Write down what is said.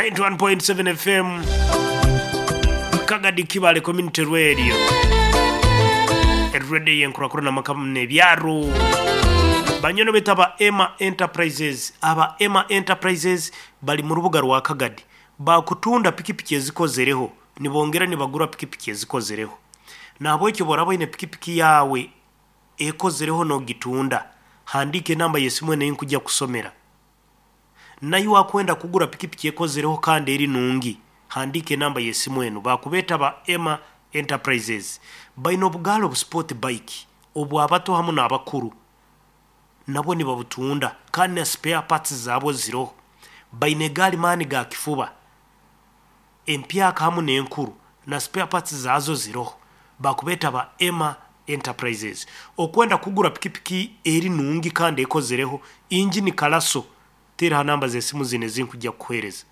91.7 FM Kagadi Kibale Community Radio Radio y'enkurakurana amaka n'ebyaro. Banywani baitu aba Emma Enterprises, aba Emma Enterprises bari mu rubuga rwa Kagadi bakutunda pikipiki ezikozereho nibongera nibagura pikipiki ezikozereho. Nahabwekyo obu oraaba oine pikipiki yaawe ekozereho n'ogitunda, handiika enamba y'esimu enu ei nkujya kukusomera. Naiwe akwenda kugura pikipiki ekozereho kandi eri nungi, handiika enamba y'esimu enu. Bakubeeta ba Emma Enterprises. Baine obugaali obu sport bike obw'abato hamu n'abakuru. Nabwo nibabutunda kandi na spare parts zaabwo ziroho. Baine egaali maani ga kifuba empyaka hamu n'enkuru na spare parts zaazo ziroho. Bakubeeta ba Emma Enterprises. Okwenda kugura pikipiki eri nungi kandi ekozereho, injini kalaso, teera ha namba z'esimu zinu ezi nkujja kukuheereza.